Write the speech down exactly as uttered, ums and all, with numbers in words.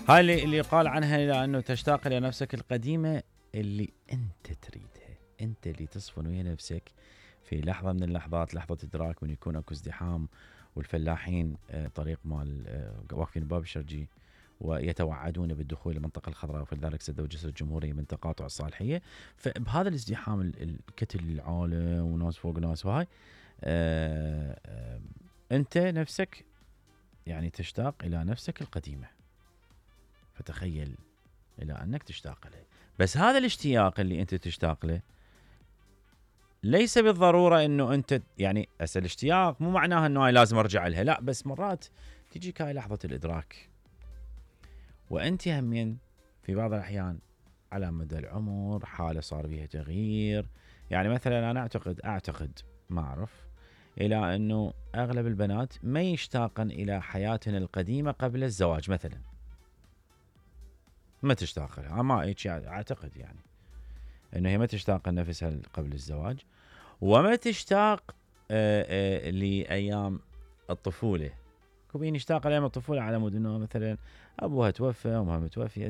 هاي اللي, اللي يقال عنها لأنه تشتاق إلى نفسك القديمة اللي أنت تريدها، أنت اللي تصفن ويا نفسك في لحظة من اللحظات، لحظة إدراك من يكون أكو ازدحام والفلاحين طريق مال واقفين باب الشرجي ويتوعدون بالدخول إلى المنطقة الخضراء، وفلذلك سدوا جسر الجمهورية من تقاطع الصالحية. فبهذا الازدحام الكتل العالم وناس فوق ناس وهاي آآ آآ أنت نفسك يعني تشتاق إلى نفسك القديمة، فتخيل إلى أنك تشتاق له. بس هذا الاشتياق اللي أنت تشتاق له ليس بالضرورة أنه أنت يعني أسأل الاشتياق مو معناها أنه لازم أرجع لها، لا، بس مرات تجيك هاي لحظة الإدراك وأنت همين في بعض الأحيان على مدى العمر حالة صار بها تغيير. يعني مثلا أنا أعتقد أعتقد ما أعرف إلى أنه أغلب البنات ما يشتاقن إلى حياتنا القديمة قبل الزواج مثلا، ما تشتاق لها، ما أعتقد يعني أنه هي ما تشتاق لنفسها قبل الزواج، وما تشتاق آآ آآ لأيام الطفولة. كوبين يشتاق لأيام الطفولة على مود أنه مثلا أبوها توفى، أمها متوفية،